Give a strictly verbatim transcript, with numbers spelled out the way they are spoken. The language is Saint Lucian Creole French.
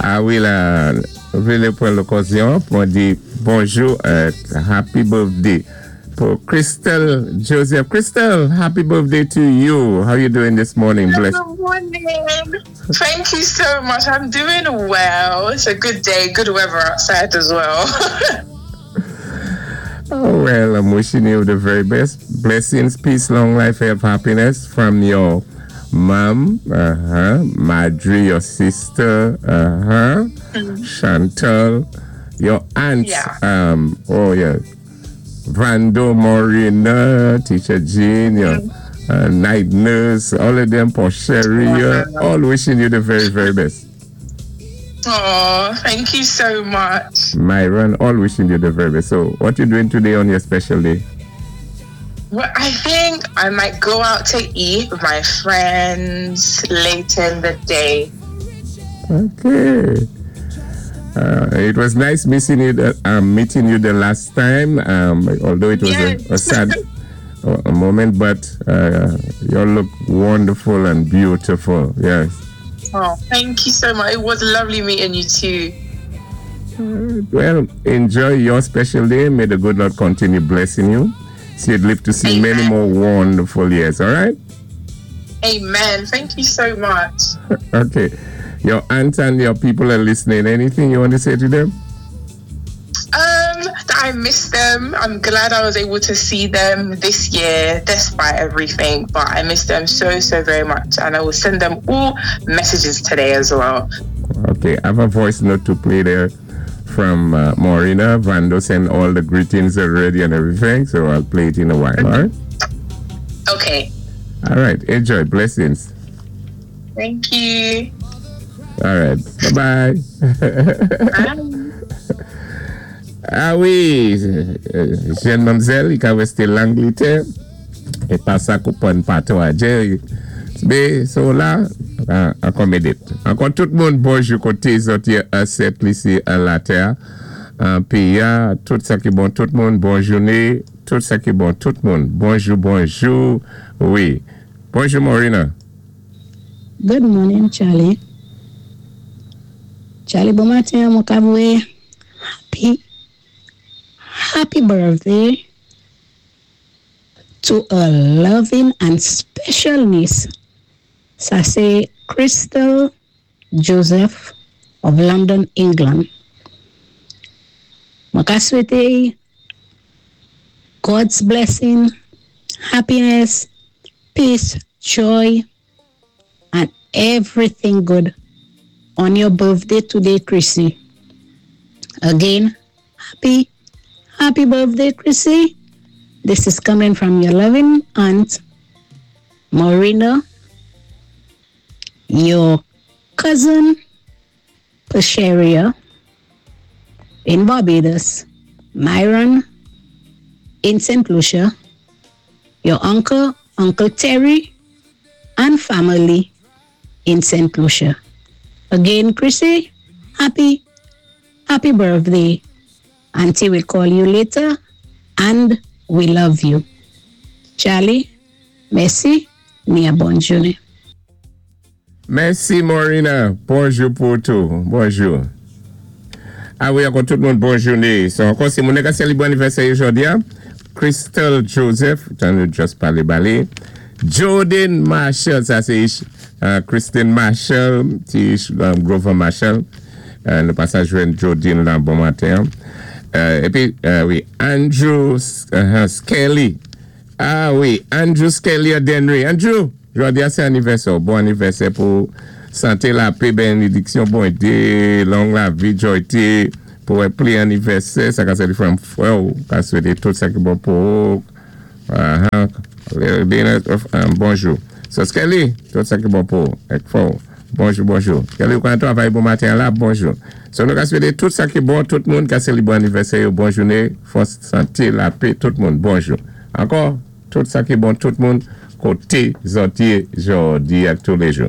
Ah wi, la, vlé pwan lokazyon pou di bonjou, euh, happy birthday pou Crystal Joseph. Crystal, happy birthday to you. How you doing this morning? Bless. Good morning. Thank you so much. I'm doing well. It's a good day, good weather outside as well. Oh, well, I'm wishing you the very best. Blessings, peace, long life, health, happiness from your mom, uh-huh, Marjorie, your sister, uh-huh, Chantal, your aunt, Yeah. um, oh yeah, Vando Morina, Teacher Jean, your uh, night nurse, all of them, for Sherry, uh, all wishing you the very, very best. Oh, thank you so much. Myron, all wishing you the very best. So, what you doing today on your special day? Well, I think I might go out to eat with my friends later in the day. Okay. Uh, it was nice missing you, the, um, meeting you the last time. Um, although it was a, a Yes. sad uh, a moment, but uh, you look wonderful and beautiful. Yes. Oh, thank you so much. It was lovely meeting you too. Well, enjoy your special day. May the good Lord continue blessing you. See you'd live to see many Amen. more wonderful years. All right. Amen. Thank you so much. Okay. Your aunt and your people are listening. Anything you want to say to them? Um, that I miss them. I'm glad I was able to see them this year, despite everything. But I miss them so, so very much. And I will send them all messages today as well. Okay, I have a voice note to play there from uh, Maurina. Vando sent all the greetings already and everything, so I'll play it in a while, all right? Okay. All right, enjoy. Blessings. Thank you. All right, bye-bye. Bye. Ah wi, jenn manmzèl, i ka wésté Langlétè, é pa sa kou pwan patwa. Bé, so la, ankò médét. Ankò tout moun bonjou koté zòt yé an Sent Lisi an latè, an péyi-a, tout sa ki bon tout moun, bon jouné, tout sa ki bon tout moun. Bonjou, bonjou, wi. Bonjou Maurina. Good morning, Charlie. Charlie, bon maten, mwen ka vwé. Happy, happy birthday to a loving and special niece. Sa sé Crystal Joseph of London, England. Mwen ka swété God's blessing, happiness, peace, joy, and everything good on your birthday today, Chrissy. Again, happy, happy birthday, Chrissy. This is coming from your loving aunt, Maurina, your cousin, Pasheria, in Barbados, Myron, in St. Lucia, your uncle, Uncle Terry, and family in St. Lucia. Again, Chrissy, happy, happy birthday. Auntie will call you later, and we love you. Charlie, mèsi, ni a bon jouné. Mèsi Maurina. Bonjou pou tou. Bonjou. Ah wi, ankò tout moun bon jouné. So, ankò sé moun ka sélibré anivèsè jòdi-a. Crystal Joseph, jan nou just palé ba li. Jordan Marshall, sa sé uh, Christine Marshall, ti um, Grover Marshall. Uh, nou pasa jwenn Jordan la bon maten. Uh, épi, uh, wi, Andrew uh, Skelly. Ah wi, Andrew Skelly Denry. Andrew, jòdi-a sé anivèsè. Bon anivèsè pou santé, lapè, bénidiksyon, bonté, long lavi, jwayté, pou wè pli anivèsè, sa ka sé di from frè ou, ka swété tout sa ki bon pou ou. Uh -huh. Bonjou. So Skelly, tout sa ki bon pou ou, èk fò. Bonjou, bonjou. Skelly, ou kan travay bon maten la, bonjou. So nou ka swété tout sa ki bon, tout moun ka sélibré anivèsè yo, bon jouné, fòs santé, lapè, tout moun, bonjou. Ankò, tout sa ki bon, tout moun, koté zòt yé jòdi ak tou lé jou.